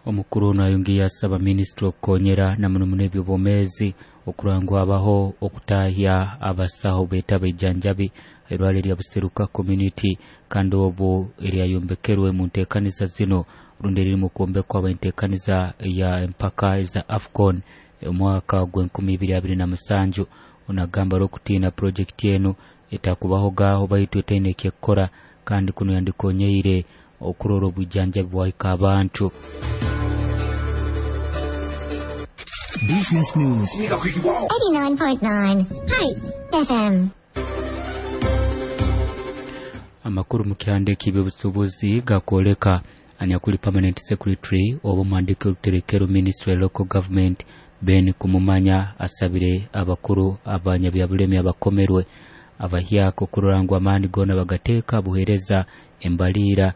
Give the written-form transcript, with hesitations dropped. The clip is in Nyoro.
Omukuru ono ayongiire asaba minisitule okukonyera na muno muno eby'obwomeezi okurora ngu habaho okutahya abasaho beeta abaijanjabi hairwarro erya Buseruka Community, kandi obu eryayombekerwe mu nteekaniza zino rundi eririmu kwombekwa habw'enteekaniza ya empaka eza AFCON omwaka gw'e 2027. Onu agamba arukutiina purojekiti enu etakubahogaho baitu etaine ekyekukora, kandi kunu yandikonyeire okurora obwijanjabi bwahika abantu. Business News. 89.9 Heights FM. Amakuru mu kyanda eky'ebyobusuubuzi gakwoleka anyakuli Permanent Secretary oba omuhandiiki w'oruterekero Ministry ya Local Government, Ben Kumumanya, asabire abakuru abanyabyabulemi abakomerwe abahyaka okurora ngu amaani goona bagateeka buheereza embaliira.